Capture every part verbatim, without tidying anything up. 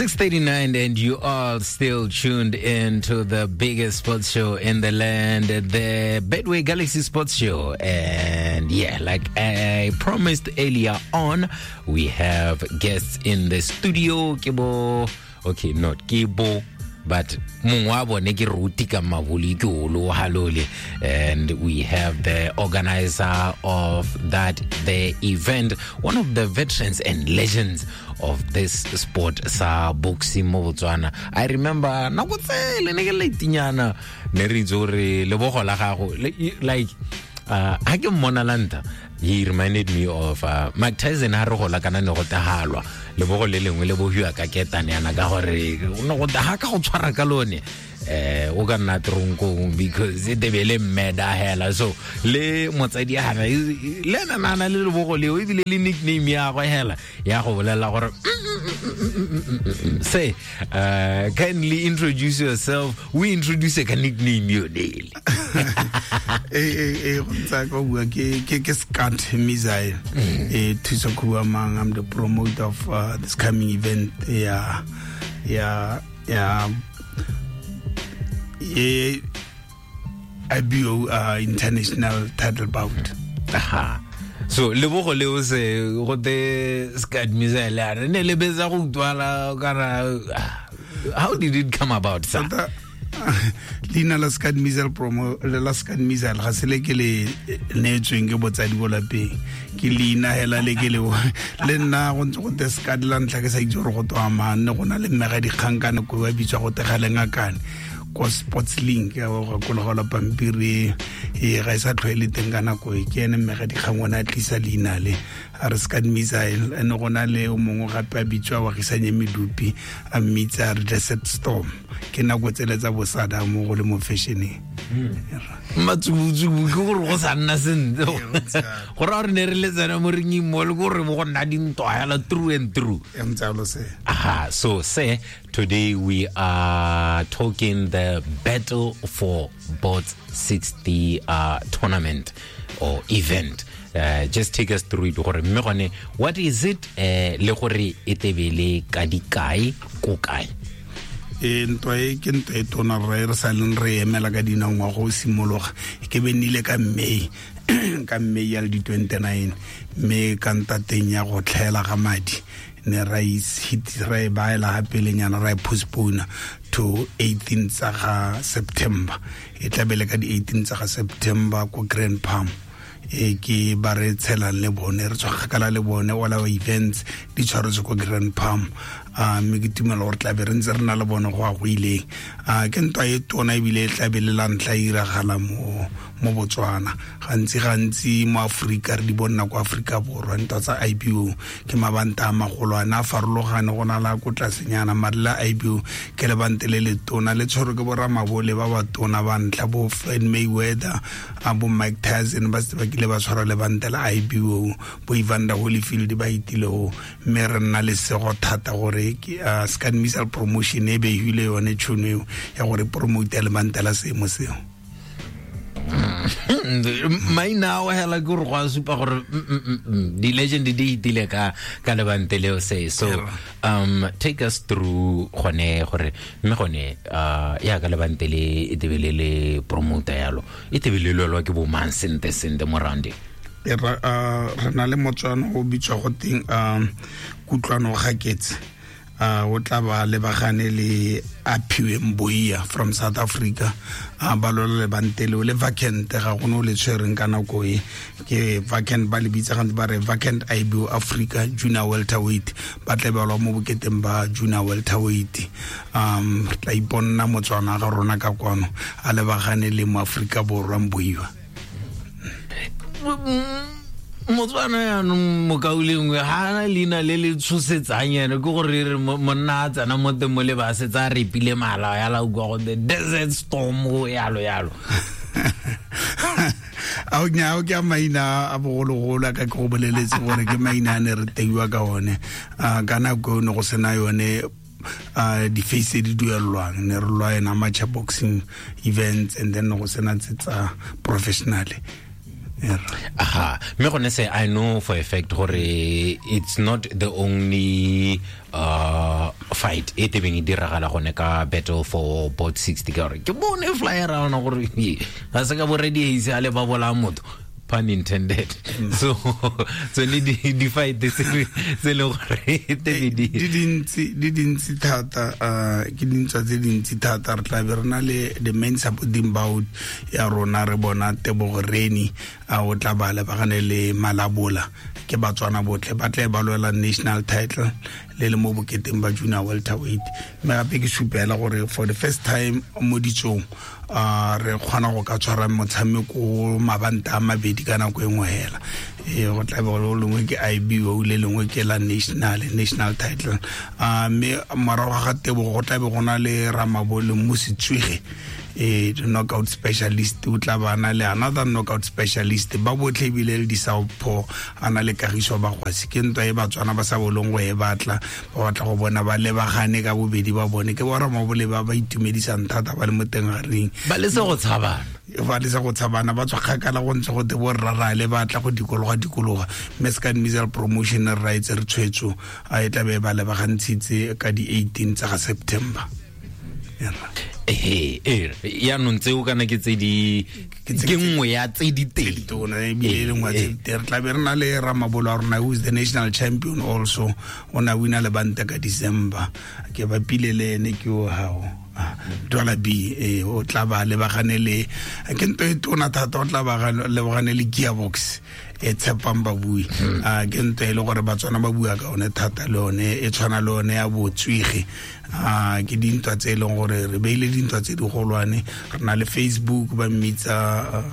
six thirty-nine, and you are still tuned in to the biggest sports show in the land, the Betway Galaxy Sports Show. And yeah, like I promised earlier on, we have guests in the studio. Kibo, okay, not Kibo, but mongwe bone ke Ruti ka Mabuli ke olo halole, and we have the organizer of that the event, one of the veterans and legends of this sport sa boxing mo Botswana. I remember nako tsele ne ke letinyana ne re itse gore lebogo la gago, like uh ha ke mmona lanta, he reminded me of uh, Mike Tyson ha re gola kana ne go tahalwa lebogo le lengwe le bohiwa ka ketane yana ka gore no go ha ka go tshwara ka lone eh o ka nna tronkong because e tebele mmeda hela. So le motsadi a hana le na na le lebogo leo ebile le nickname ya go hela ya go bolela gore say uh, kindly introduce yourself. We introduce a nickname yo daily. Eh eh eh go tsa go bua ke ke ke Scott Missile. Eh Thuso Khuamang, I'm the promoter of uh, this coming event. Yeah yeah yeah yeah I B O uh, international title bout. Aha. So lebogo leo se go te Scott Missile a re ne le betsa go utlwala kana, how did it come about, sir? Leina la Scott Missile promo la Scott Missile ga se le ke le neetsweng ke botsadi bo lapeng, ke leina hela le ke le le nna go ntse go te Scott la ntlha ke sa itse gore go twa mang, ne go na le mmega dikgang ka nako e bitswa go tegaleng akane ko Sports Link ya go gakologelwa pampiri e ga e sa tlhoele teng ka nako e, ke ene mmega dikgang ona a tlisa leina le a re Scott Missile. Ene go na le o mongwe gape a bitswa wa gisanye medupi a mmitsa re Desert Storm, ke nako tsele tsa bosada mo go le mo fashioneng. Matsubutsubu ke gore go sa nna sentle gore a re ne re le tsena mo ringing mo le gore mo go nna dintwa hela through and through. Aha, so say today we are talking the Battle for Bots sixty uh, tournament or event. Uh, just take us through it gore mme gone what is it eh le gore e tebele ka dikae ko kae? E ntwa e ke ntwa e tona re re sa leng re emela ka dinao ngwaga o simologa, ke be nnile ka May ka May ya le di twenty-nine, mme ka ntateng ya go tlhaela ga madi ne ra hit ra e baela gape lenyana ra e postpone to eighteen tsa ga September. E tlabele ka di eighteen tsa ga September ko Grand Palm, e ke ba re tshelang le bone re tswa kgakala le bone, all our events di tshwaretswe ko Grand Palm. A mme ke tumela gore tlabe re ntse re na le bone go a go ileng. A ke ntwa e tona ebile e tlabe le la ntlha e iragala mo mo Botswana. Gantsi gantsi mo Afrika re di bonna ko Afrika Borwa ntwa tsa I B O ke mabanta a magolwane a farologane, go na la ko tlasenyana, mare la I B O ke lebante le le tona le tshwerwe ke boramabole ba ba tona ba ntlha bo Floyd Mayweather a bo Mike Tyson ba setse ba kile ba tshwara lebante la I B O, bo Evander Holyfield ba itile go, mme re nna lesego thata gore ke uh, Scott Missile Promotion e beile yone tšhono eo ya gore promote lebante la seemo seo. Maina ao hela ke gore go a supa gore di-legend di itile ka ka lebante leo se. So um take us through gone gore mme gone uh ya ka lebante le e tebele le promoter yalo e tebele lwelwa ke bo mang sente sente mo rounding? Re na le Motswana o bitswa go teng um Kutlwano Gaketse, uh o tla ba lebagane le Aphiwe Mboia from South Africa, a ba lwela lebante leo le vacant, ga gone o le tshwereng ka nako e ke vacant, ba le bitsa gantsi ba re vacant I B O Africa Junior Welterweight, ba tla ba lwa mo boketeng ba Junior Welterweight. Um re tla iponna Motswana ga rona ka kwano a lebagane le mo Afrika Borwa Mboia. Motswana yaanong mokaulengwe ga ana leina le le tshosetsang ene, ke gore re monna a tsena mo teng mo le ba setse a repile mala ya la utlwa go the Desert Storm go yalo yalo. Ao nya ke a maina a bogologolo a ka ke go boleletse gore ke maina a ne re teiwa ka one. Ka nako ne go sena yone uh di-face di duelwang, ne re lwa ena amateur boxing events and then go sena tse tsa professionally. Aha, mme gone se I know for a fact gore it's not the only uh fight e tebeng e diragala gone ka Battle for Board sixty ka gore ke bone flyer ona gore ga se ka bo ready a le ba bola motho, pun intended. So so ne di di fight tse tse le gore tebe di di dintsi di dintsi thata, ke dintsi tse dintsi thata. Re tla be re na le the main supporting bout ya rona, re bona Tebogo Reni a o tla ba lebagane le Malabola, ke Batswana botlhe ba tla ba lwela national title le le mo boketeng ba junior welterweight. Mme gape ke supela gore for the first time mo ditsong a re kgona go ka tshwara motshameko mabanta a mabedi ka nako e nngwe hela. E go tla be go lengwe ke I B O le lengwe ke la national national title. A mme morago ga Tebogo go tla be go na le Ramabole Mositswege, e knockout specialist, o tla ba na le another knockout specialist, ba botlhe ebile le di-southpaw a na le Kagiso Bagwasi. Ke ntwa e Batswana ba sa bolong go e batla, ba batla go bona ba lebagane ka bobedi ba bone. Ke bo Ramabole ba ba itumedisang thata ba le mo teng ga ring, ba lese go tshabana, ba lese go tshabana, ba tswa kgakala go ntse go te bo rrarale ba tla go dikologa dikologa. Mme se ka Misal Promotion Rights re tshwetso a e tla be ba lebagantshitse ka di eighteen tsa ga September. Eh eh yaanong tseo kana ke tse di ke nngwe ya tse di teng tona ebile le nngwe tse di re tla be re na le Ramabolo wa rona who is the national champion also, o na wina le banta ka December, ke bapile le ene ke o hao Dollar B, eh o tla ba lebagane le ke ntho e tona thata, o tla ba lebagane le Gearbox e tshepang babui. A ke ntho e le gore Batswana ba bua ka one thata, le one e tshwana le one ya botswege. A ke dintwa tse e leng gore re beile dintwa tse di golwane. Re na le Facebook ba mmitsa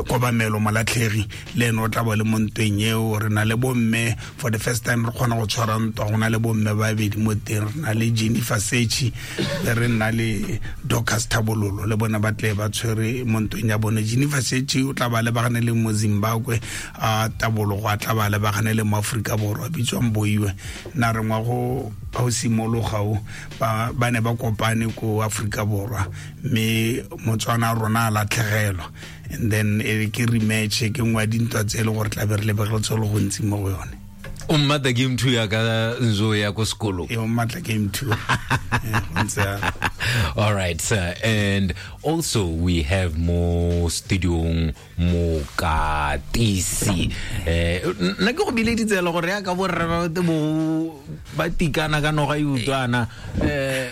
Kobamelo Malatlhegi, le ene o tla ba le mo ntweng eo. Re na le bomme for the first time re kgona go tshwara ntwa, go na le bomme ba babedi mo teng, re na le Jennifer Sechi le re nna le Dorcas Thabololo, le bona ba tle ba tshwere mo ntweng ya bone. Jennifer Sechi o tla ba lebagane le mo Zimbabwe, a Tabolo go a tla ba lebagane le mo Afrika Borwa bitswang Boiwe. Nna re ngwa go go simologa o ba ba ne ba kopane ko Afrika Borwa, mme Motswana rona a latlhegelwa, and then e ke rematch ke nngwe ya dintwa tse e le gore tla be re lebegetse le gontsi mo go yone. O mmatla game two ya ka nzo ya ko sekolong, e o mmatla game two. All right, sir. And also we have mo studiong mokatisi. Eh nna ke go bileditse le gore ya ka borre ba bo ba tikana ka noga e utlwana. Eh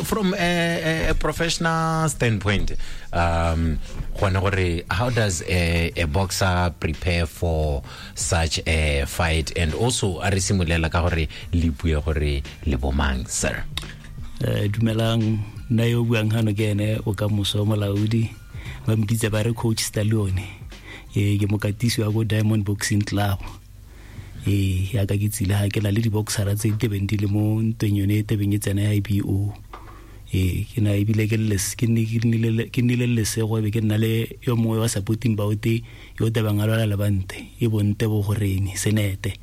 from a, a professional standpoint, um gone gore how does a, a boxer prepare for such a fight, and also a re simulela ka gore le bue gore le bomang, sir? Eh dumelang, nna yo buang hano ke ene o ka moso molaodi, ba mpitse ba re Coach Stallone. Eh ke mokatisi wa go Diamond Boxing Club. Eh ya ka ke tsile ha ke na le di-boxera tse tebeng di le mo ntweng yone e tebeng e tsena ya I B O. Eh ke na ebile ke le ke nnile ke nnile lesego be ke nna le yo mongwe wa supporting baote yo tebang a lwala lebante e bonte bo goreng senete.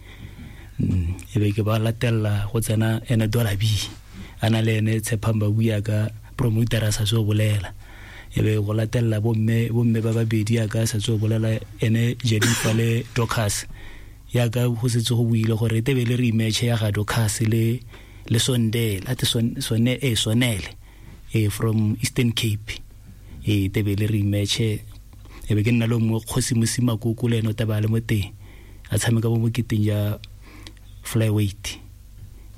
E be ke ba latella go tsena ene Dollar B ana le ene Tshepang ba bua ka promoter a sa so bolela, e be go latella bomme bomme ba babedi ya ka sa so bolela ene Jennifer le Dorcas, ya ka go setse go buile gore tebe le rematch ya ga Dorcas le le Sondela ate son sone e sonele e from Eastern Cape, e tebe le rematch. E be ke nna le mo Kgosi Mosima Koko le ene o taba le mo teng a tshameka mo moketeng ya flyweight,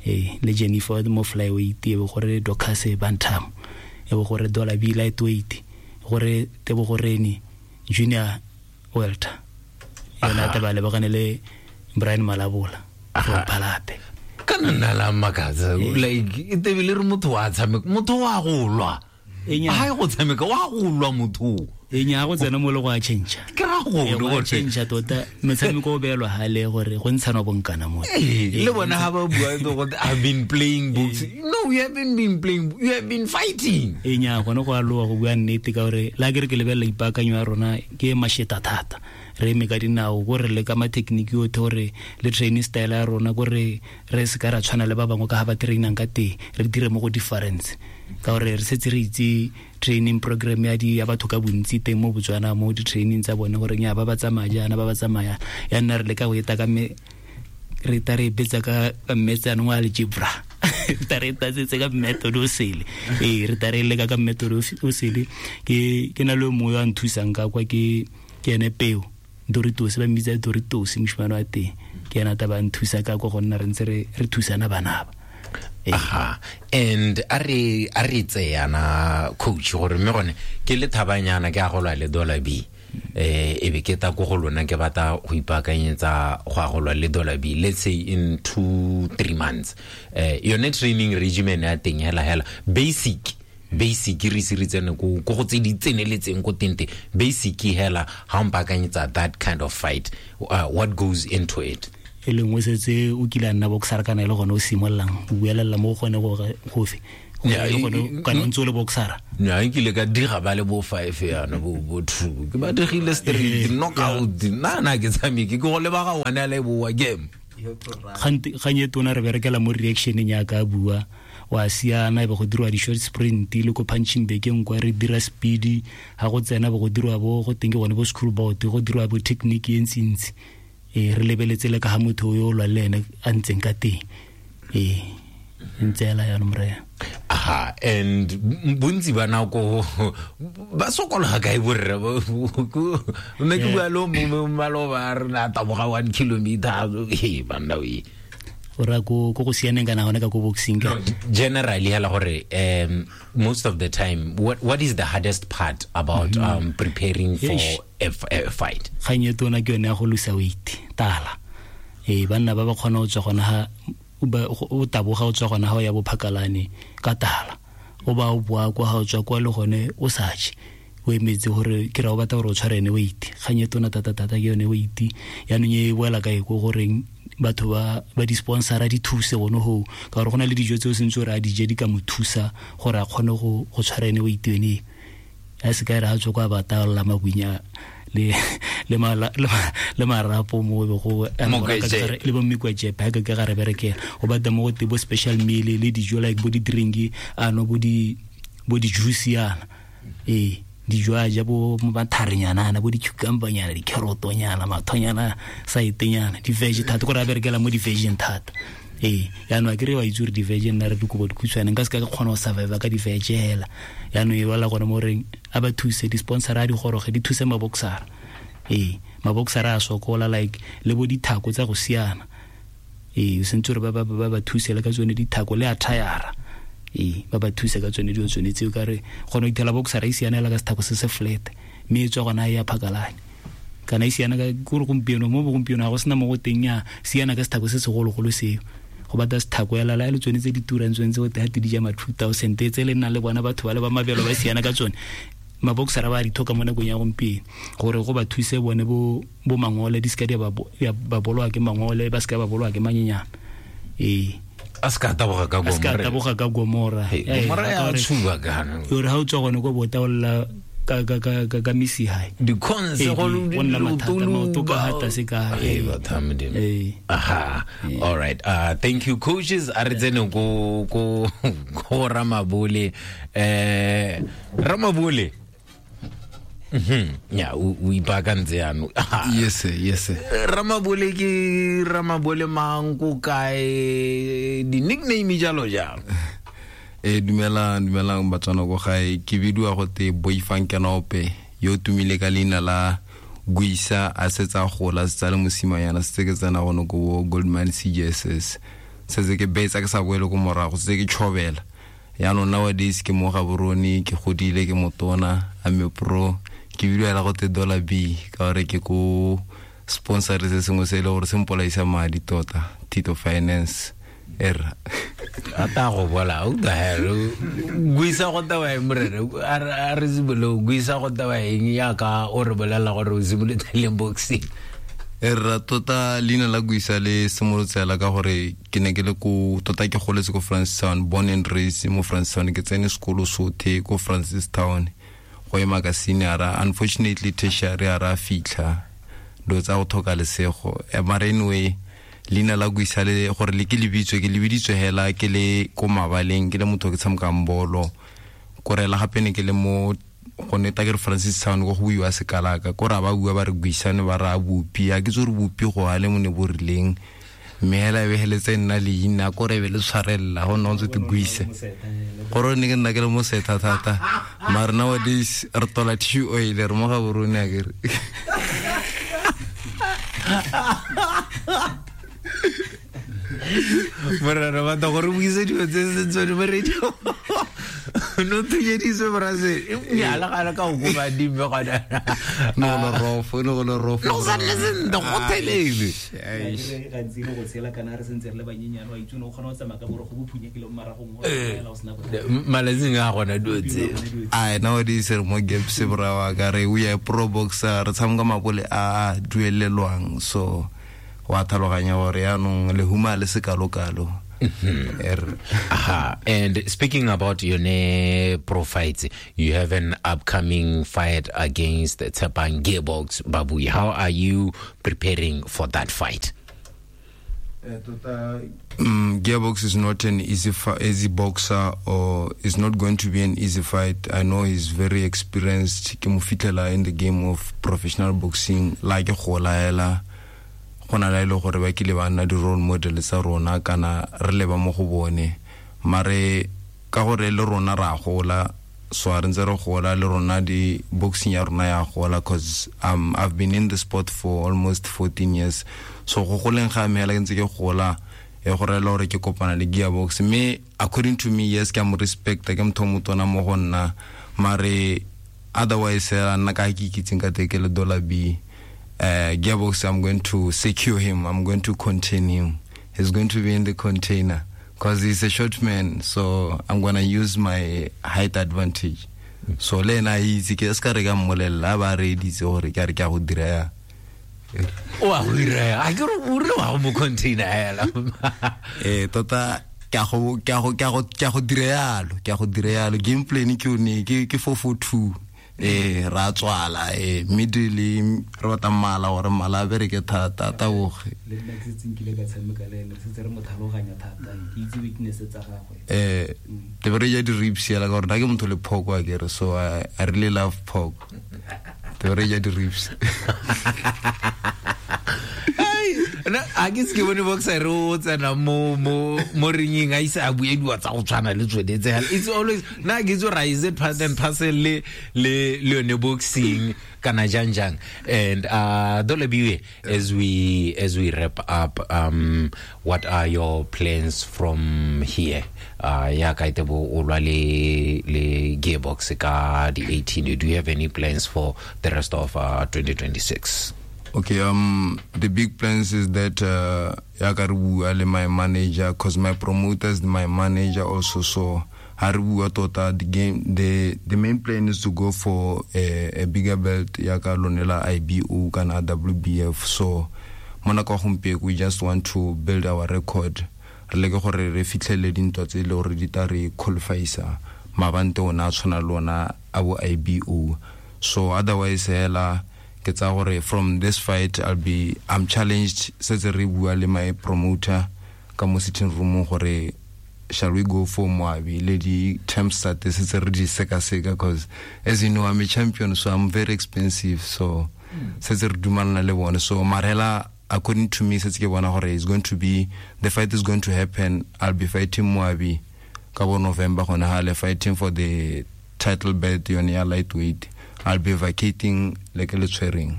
e le Jennifer mo flyweight, e be gore Dorcas bantam, e be gore Dollar B lightweight, gore Tebogo Reni junior welter, yona taba le bagane le Brian Malabola from Palape. Kana nna la makatsa like e tebile re motho wa tshameka, motho wa go lwa, ha go tshameka wa go lwa motho e nya go tsena mo le go a change, ke ra go go change tota metshameko o beelwa hale gore go ntshana bonkana mo le bona ha ba bua go I've been playing books. No, you haven't been playing, you have been fighting. E nya gone go a loa go bua nnete ka gore la ke re ke lebella ipakanyo ya rona ke masheta thata, re eme ka dinao gore le ka ma-technique yotlhe gore le training style ya rona gore re se ka ra tshwana le ba bangwe ka ga ba trainang ka teng, re dire mo go difference ka gore re setse re itse training program ya di ya batho ka bontsi teng mo Botswana mo di-training tsa bone gore nya ba ba tsamaya jaana ba ba tsamaya ya nna re leka go eta ka me re ta re betsa ka mmetsano wa algebra ta re ta tsetse ka method o sele ee re ta re leka ka method o sele ke ke na le mongwe a nthusang ka kwa ke ke ene peo Doritos ba mmitsa Doritos moshimane wa teng ke ena ta ba nthusa ka kwa go nna re ntse re re thusana bana ba. Aha and a re a re tseyana coach gore mme gone ke le thabanyana ke a go lwa le Dollar B eh e be ke ta go go lona ke batla go ipaakanyetsa go a go lwa le Dollar B let's say in two three months eh yone training regimen ya teng hela hela basic basic re se re tsene go go tse di tseneletseng go tente basic hela ha mpaakanyetsa that kind of fight uh, what goes into it e lengwe setse o kile a nna boxer kana e le gone o simololang o buelela mo gone go gofe gone kana o ntse o le boxer nya nkile ka diga ba le bo five yana bo bo two ke ba digile straight knockout nna na ke tshameke ke go leba ga one le bo wa game gante ganye tona re berekela mo reactioneng ya ka bua wa siana e be go dirwa di short sprint le ko punching bag nkwa re dira speed ha go tsena bo go dirwa bo go teng ke gone bo school bout go dirwa bo technique e ntsi e re lebeletse le ka ha motho yo lwa le ene a ntseng ka teng e ntse ela ya nomre. Aha and bontsi ba nako ba sokola ga kae borre nne ke bua lo mo ba re na taboga one kilometer e banna we ora go go go sianeng kana gone ka go boxing ka generally hela gore um most of the time what what is the hardest part about mm -hmm. um preparing for a, a fight ganye tona ke yone ya go losa weight tala e banna ba ba kgona go tswa gona ha o taboga o tswa gona ha o ya bophakalane ka tala o ba o boa kwa ha o tswa kwa le gone o sa je o emetse gore ke ra o batla gore o tshware ene weight ganye tona tata tata ke yone weight yaanong e boela kae ko goreng batho ba ba di sponsora di thuse gone ho ka gore go na le dijo tse o sentse gore a di je di ka mo thusa gore a kgone go go tshwara ene weight yone a se ka re a tswa kwa bataolla mabunya le le mala le marapo mo go le bo mmikwa jepe ka ka ga re berekela o batla mo go te bo special meal le dijo like bo di drink ano bo di bo di juice yana ee dijo a ja bo matharenyana ana bo di cucumber nyana di carrot nyana mathonyana saitenyana di veg thata gore a berekela mo di veg thata ee yaanong a kere wa itse gore di veg nna re dikobo dikhutshwane nka se ka kgona go survive ka di veg hela yaanong e bala gone mo reng a ba thuse di sponsor a di goroge di thuse maboxer ee maboxer a sokola like le bo dithako tsa go siana ee o sentse gore ba ba ba ba thuse le ka tsone dithako le attire ee ba ba thuse ka tsone dilo tsone tseo ka re kgona go ithela boxer e siana ka sethako se se flat mme e tswa gona e ya phakalane kana e siana ka gore gompieno mo gompieno ga go sena mo go teng ya siana ka sethako se segologolo seo go batla sethako ya lala le tsone tse di turang tsone tse go te di ja ma two thousand tse le nna le bona batho ba le ba mabelo ba siana ka tsone maboxer ba di thoka mo nakong ya gompieno gore go ba thuse bone bo bo mangole di ska di ba ba bolwa ke mangole ba ska ba bolwa ke manyenyana ee a ska taboga ka gomora a ska taboga ka gomora gomora ya tshuba kana gore ha o tswa gone go botaolla ka ka ka ka ka misi hae di cons go nna mathata maoto ka hata se ka eh batho modimo aha all right uh thank you coaches a re tsene go go go Ramabole eh Ramabole mhm ya o ipakantse yano yes yes Ramabole ke Ramabole mang ko kae di nickname jalo jalo e dumelang dumelang Batswana go gae ke bidiwa go te Boifang Kenope yo tumile ka leina la Guisa a setsa gola setsa le mosimanyana setse ke tsena gone ko Goldman C J S S setse ke betsa ke sa boele ko morago setse ke tshobela yaanong nowadays ke mo Gaborone ke godile ke motona I'm a pro ke bidiwa la go te Dollar B ka gore ke ko sponsor se sengwe se e le gore se mpolaisa madi tota Tito Finance era ata go bola o da helo guisa go tawa morere a re zibolo guisa go tawa eng ya ka o re bolela gore o simolotse le boxing era tota leina la guisa le simolotsela ka gore ke ne ke le ko tota ke goletse ko Francistown born and raised mo Francistown ke tsene sekolo sothe ko Francistown go ema ka senior unfortunately tertiary a ra fitlha do tsa go thoka lesego mara anyway leina la guisa le gore le ke lebitswe ke lebiditswe hela ke le ko mabaleng ke le motho ke tshamekang bolo kore la gape ne ke le mo go neta ke re Francistown go go buiwa sekalaka ko ra ba bua ba re guisane ba ra bopi a ke tse re bopi go ale mo ne bo rileng Mme hela e beheletse nna leina kore be le tshwarella go nna o ntse te guise gore ne ke nna ke le mosetha thata mare nowadays re tola tissue oil re mo Gaborone akere. Mara re batla gore o buise dilo tse se tsone mo radio. No thunyediswe brase nyala gala ka go ba dimme gona. No le rofo no le rofo. No sa le sentle go thelele. Gantsi go tshela kana re sentse re le banyenyane wa itse no kgona go tsamaya ka boro go bophunyekile mo maragong o la o sena bothata. Malatsing a gona dilo tse. Ai nowadays re mo gaps bra wa ka re we are pro boxer re tshameka mabole a duelelwang so wa tlhaloganya gore yaanong lehuma le sekalokalo. Aha. And speaking about your pro fights, you have an upcoming fight against Tshepang Gearbox Babui. How are you preparing for that fight? Um, Gearbox is not an easy easy boxer, or is not going to be an easy fight. I know he's very experienced. Ke mo fitlhela in the game of professional boxing like gola hela. Gona la ile gore ba kile ba nna di role model tsa rona kana re leba mo go bone mare ka gore le rona ra gola so re ntse re gola le rona di boxing ya rona ya gola cause um I've been in the sport for almost fourteen years so go goleng ga me hela ke ntse ke gola e gore le gore ke kopana le Gearbox me according to me yes ke a mo respect ke motho motona mo go nna mare otherwise nna ka ke ikitseng ka teke le dollar B. Uh, Gearbox, I'm going to secure him. I'm going to contain him. He's going to be in the container because he's a short man. So I'm going to use my height advantage. So le na itse ke ska re ka mmolela ba re ditse gore ke re ke a go dira ya. O a go dira. A ke re o re wa mo container hela. Eh tota ke a go ke a go ke a go ke a go dira yalo, ke a go dira yalo. Game plan ke one ke ke four four two. Eh ra tswala eh middle re batla mala gore mala a bereke thata taboge le nna ke setseng kile ka tshameka le ene re setse re mo tlhaloganya thata ke itse weakness tsa gagwe eh te bere ja di ribs yela ka gore nna ke motho le pork wa kere so I, I really love pork te bere ja di ribs. Na a ke se ke bone boxer o tsena mo mo mo ringeng a ise a buediwa tsa go tshwana le tsone tse. It's always na ke tso rise it part and parcel le le le yone boxing kana jang jang. And uh Dolabiwe, as we as we wrap up, um what are your plans from here? Uh ya ka itebo o lwa le le Gearbox ka di eighteen. Do you have any plans for the rest of uh, twenty twenty-six? Okay, um, the big plans is that uh, ya ka re bua le my manager, cause my promoter is my manager also. So ha re bua tota the game, the the main plan is to go for a, a bigger belt ya ka lonela I B O kana W B F. So mona kwa gompieno we just want to build our record. Re leke gore re fitlhele dintwa tse le gore di tla re qualifyisa mabante ona a tshwana le ona a bo I B O. So otherwise hela ke tsa gore from this fight I'll be I'm challenged setse re bua le my promoter ka mo sitting room gore shall we go for Moabi le di terms tsa setse re di sekaseka because as you know I'm a champion so I'm very expensive so setse re dumalana le bone so marela according to me setse ke bona gore is going to be the fight is going to happen. I'll be fighting Moabi ka bo November gona hale fighting for the title belt yone ya lightweight. I'll be vacating like le tshwereng.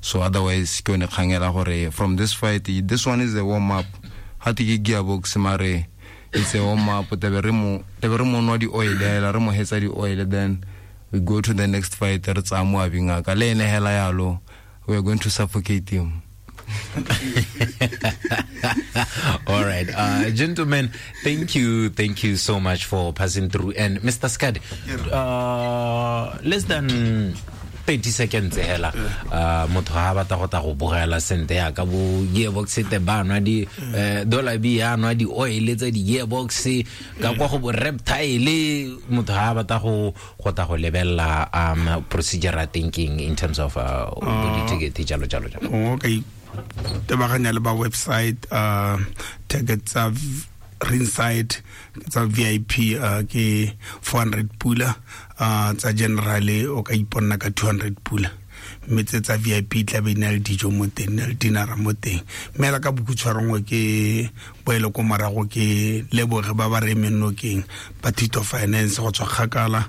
So otherwise ke yone kgangela gore from this fight, this one is a warm up. Ha te ke Gearbox mare it's a warm up te be re mo te be re mo nwa di oil hela re mo hetsa di oil then we go to the next fight re tsaya Moabi ngaka le ene hela yalo we are going to suffocate him. All right, uh, gentlemen, thank you, thank you so much for passing through. And Mister Skadi, uh, less than thirty seconds hela uh motho ha batla go ta go bogela sente ya ka bo Gearbox te ba nwa di dollar B ya nwa di oil tsa di Gearbox ka kwa go bo reptile motho ha batla go go ta go lebella um procedure thinking in terms of uh di ticket jalo jalo jalo. Okay, tebaganya le ba website uh tickets tsa ringside tsa V I P uh, ke four hundred pula uh tsa general o ka iponna ka two hundred pula. Mme tse tsa V I P tla be na le dijo mo teng, na le dinara mo teng. Mme la ka bokhutshwarongwe ke boele ko morago ke leboge ba ba re emeng nokeng ba Tito Finance go tswa kgakala,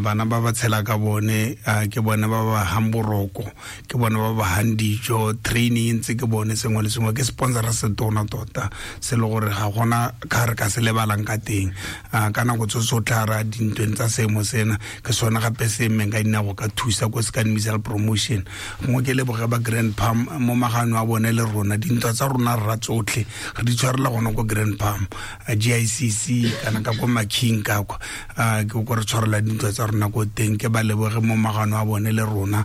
bana ba ba tshela ka bone, ke bone ba ba hang boroko, ke bone ba ba hang dijo, training ntse ke bone sengwe le sengwe, ke sponsora se tona tota se le gore ga gona ka re ka se lebalang ka teng. Ka nako tso tsotlhe ra dintweng tsa seemo sena ke sone gape se emeng ka dinako ka thusa ko se ka Missile Promotion. Gongwe ke leboge ba Grand Palm mo magano a bone le rona, dintwa tsa rona rra tsotlhe re di tshwarela gona ko Grand Palm, G I C C kana ka ko Making ka kwa, ke ko re tshwarela dintwa tsa rona ko teng. Ke ba leboge mo magano a bone le rona,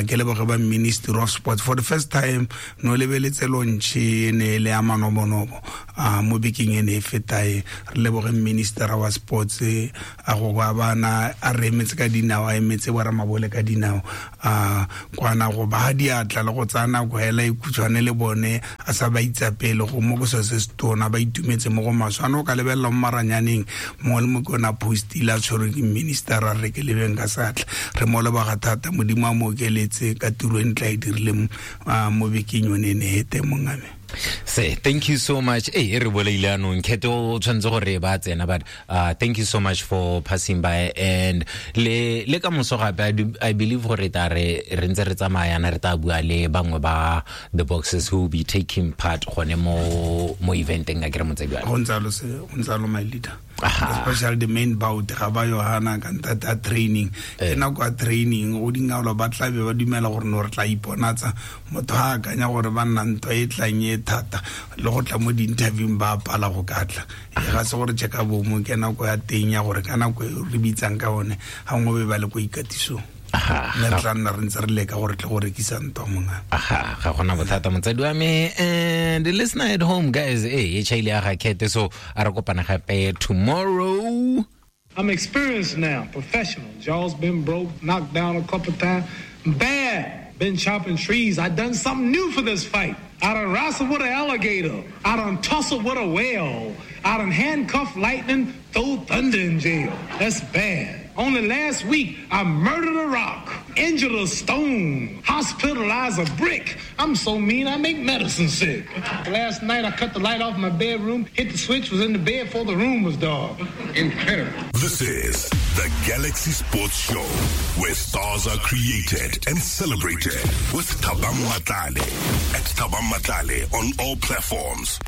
ke leboge ba Ministry of Sports. For the first time no lebeletse launch e ne le ya manobonobo mo bekeng e ne e fetae. Re leboge Minister wa Sports a go ba bana a re emetse ka dinao, a emetse bo ramabole ka dinao, a kwana go ba diatla le go tsaya nako hela e khutshwane le bone a sa ba itsapele go mo go se se tona ba itumetse mo go maswe. Ano ka lebelela mo maranyaneng mongwe le mongwe ona postile a tshwerwe ke minister a re ke lebeng ka satla. Re mo leboga thata, Modimo a mo okeletse ka tiro e ntla e dirileng mo bekeng yone e ne e teng mongame. Say thank you so much. Eh re boleile anong kheto o tshwantse gore ba tsena, but uh thank you so much for passing by. And le le ka moso gape I believe gore ta re re ntse re tsamaya na re ta bua le bangwe ba the boxers who will be taking part gone mo mo eventeng a ke re motsadi wa go ntse lo se go ntse lo my leader. Especially the main bout ga ba Yohana ka ntata training ke nako ya training go dingalo ba tla be ba dumela gore no re tla iponatsa motho ha akanya gore ba nna ntwa e tlang e thata le go tla mo di-interviewng ba pala go ka tla e ga se gore check bo mo ke nako ya teng ya gore ka nako e re bitsang ka one ga nngwe be ba le ko ikatisong. Mme re tla nna re ntse re leka gore tle go rekisa ntwa monga. Aha, ga gona bothata motsadi wa me. And the listener at home guys, eh e chaile ya ga Kete, so a re kopana gape tomorrow. I'm experienced now, professional. Jaw's been broke, knocked down a couple times. Bad. Been chopping trees. I done something new for this fight. I done wrestled with an alligator. I done tussled with a whale. I done handcuffed lightning, throw thunder in jail. That's bad. Only last week, I murdered a rock, injured a stone, hospitalized a brick. I'm so mean, I make medicine sick. Last night, I cut the light off my bedroom, hit the switch, was in the bed before the room was dark. Incredible. This is the Galaxy Sports Show, where stars are created and celebrated with Thabang Matlale. At Thabang Matlale on all platforms.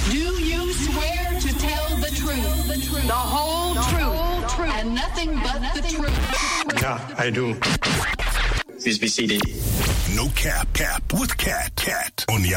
Do you swear to tell the truth, the, truth, the whole, the truth, whole truth, and nothing but the truth? Yeah, I do. Please be seated. No cap, cap with cat, cat on the